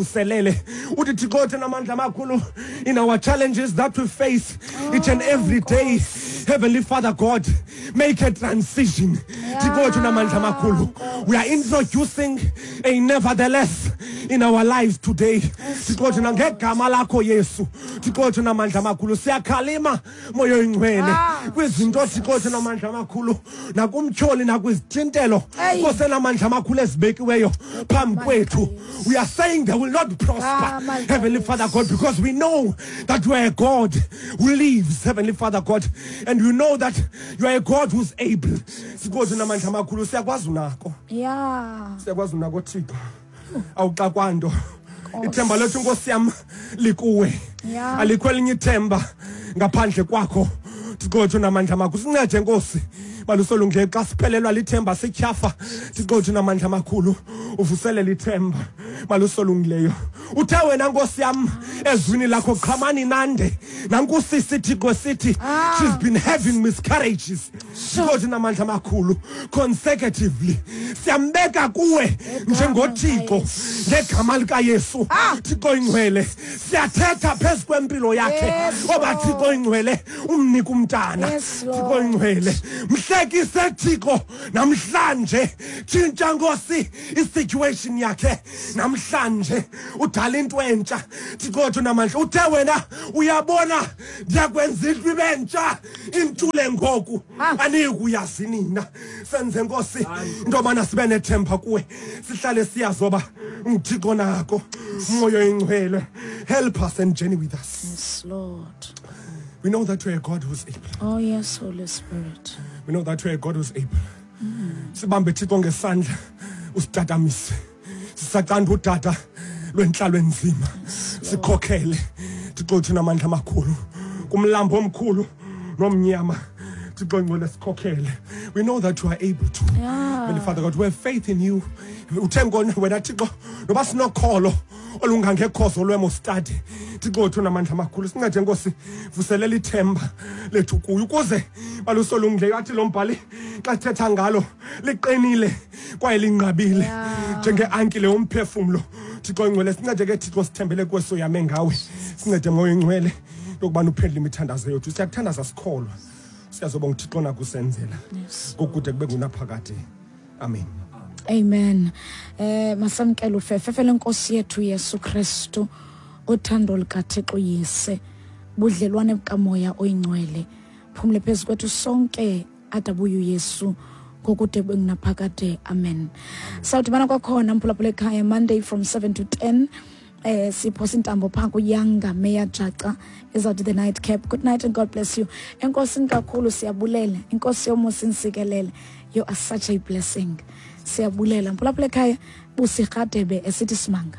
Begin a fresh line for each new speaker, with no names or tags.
Uselele uthi Thixo othe namandla amakhulu in our challenges that we face each and every day, Heavenly Father God, make a transition. Thixo othe namandla amakhulu, we are introducing a nevertheless in our lives today. Thixo othe ngegama lakho Yesu, Thixo othe namandla amakhulu, siyakhalima Moya oyingcwele ah, kwizinto Thixo othe namandla amakhulu nakumtyholi nakwizithintelo Nkosi enamandla amakhulu ezibekiweyo phambi kwethu. We are saying they will not prosper, ah, Heavenly Father God, because we know that you are a God who lives, Heavenly Father God, and we know that you are a God who's able. Thixo namandla amakhulu, siyakwazi unako, siyakwazi unako Thixo, awuxakwanto. Ithemba lethu, Nkosi yam, likuwe, alikho elinye ithemba ngaphandle kwakho. Thixo wethu namandla amakhulu, sincede Nkosi balusolungileyo xa siphelelwa lithemba, sityhafa. Thixo wethu namandla amakhulu, uvuselela ithemba malusolungileyo. Uthe wena, Nkosi yam, ezwini lakho, qhamani nande. Nankusisi, Thixo, sithi she's been having miscarriages, Thixo wethu namandla amakhulu, consecutively. Siyambeka kuwe njengoThixo ngegama likaYesu. Thixo ingcwele, siyathetha phezu kwempilo yakhe oba, Thixo ingcwele, umnika umntana. Thixo ingcwele, mhlekise Thixo namhlanje, tshintsha Nkosi isituation yakhe namhlanje, udala into entsha. Thixo wethu namandla, uthe wena, uyabona, ndiyakwenza into ibe ntsha, intule ngoku aniyi kuyazi nina. Senze Nkosi into yobana sibe nethemba kuwe, sihlale siyazi oba nguThixo nako. Moya oyingcwele, help us and journey with us.
Yes, Lord.
We know that you are a God who's able.
Oh, yes, Holy Spirit.
We know that you are a God who's able. Sibambe Thixo ngesandla, usitatamise sisacanda udada lwentlalo enzima. Sikhokhele Thixo wethu namandla amakhulu kumlambo omkhulu nomnyama. Thixo ngcwele, sikhokhele. We know that you are able to. Heavenly Father God, we have faith in you. Uthe ngona wena Thixo noba sinokholo olungangekhozo lwemostadi. Thixo wethu namandla amakhulu, sincede Nkosi, vuselela ithemba lethu kuyo ukuze balusolungileyo athi lo mbhali xa sithetha ngalo, liqinile kwaye linqabile njenge-ankile yomphefumlo. Thixo ingcwele, sincede ke Thixo, sithembele kweso yame ngawe. Sincede Moya ingcwele yokubana uphendule imithandazo yethu. Siyakuthandaza sikholwa, siyazoba nguThixo nakusenzela ngokude kube ngunaphakade. Amen.
Amen. Masamkele ufefefe lenkosi yethu Yesu Kristu, uthando likaThixo Yise, budlelwane bukaMoya oyingcwele phumle phezu kwethu sonke adabuye uYesu ngokude kube ngunaphakade. Amen. Sawudibana kwakhona mphulaphula ekhaya Monday from 7 to 10. Siphosa intambo phaa kuyanga Mayor Jaca ezawuthi the night cap. Good night and God bless you. Enkosini kakhulu, siyabulela. Inkosi yomusa insikelele. You are such a blessing. Siyabulela mphulaphula ekhaya. Busirhadebe esithi simanga.